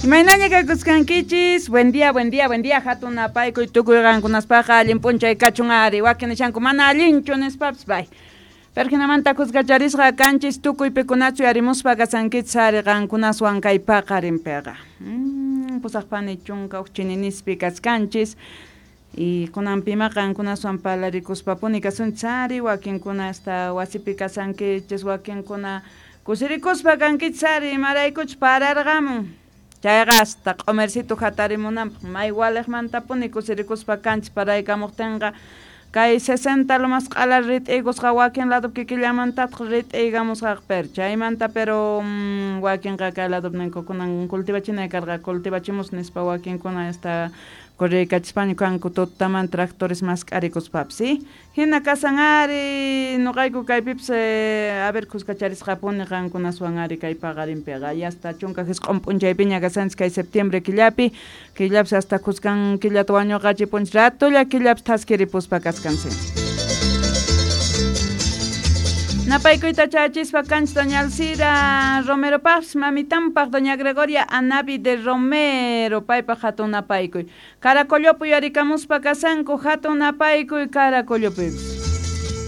Imaynaña kakuskankichis? Buen día, buen día, buen día. Hatun napaykuy tukuy qankunaspaqa allin p'unchay kachun ari. Wakin nishanku mana allinchu nispapis bay. Pero hinamanta khuskacharisqa kanchis tukuy pikunachu yarimuspa kasankichis ari qankunaswan kay paqarinpiqa. Pusaqpani chunka huk chininispi kaskanchis. Y kunanpima qankunaswan parlarikuspapuni kasunchis ari, wakinkuna hasta wasipi kasankichis, wakinkuna kusirikuspa kankichis ari, imaraykuchus pararqamun. Chayqa hasta q'umercito hatarimunanpaq may waliqmantapuni kusirikuspa kanchis paraykamuqtinqa kay 60 lomas q'ala rit'iykusqa wakin lado kikillamantataq rit'iykamusqaqa pero chaymanta pero wakinqa kay lado ninku kunan cultivachinay karqa cultivachimus nispa wakinkuna hasta correykachispaña kanku tutaman tractores mask'arikuspapis ¿sí? Hina kasan ari noqayku kaypipis a ver khuskacharisqapuni qankunaswan ari kay paqarinpiqa y hasta chunka jisq'on p'unchaypiña kasanchis kay septiembre killapi killapis hasta khuskan killata wañuqachipunchis ratolla killapis thaskiripuspa kaskansi. Napaykuyta chachispa kanchis doña Alcira Romero Paz, mamitanpaq doña Gregoria Anavi de Romero, paypaq hatun napaykuy. Caracollopi yarikamuspa kasanku hatun napaykuy Caracollopi.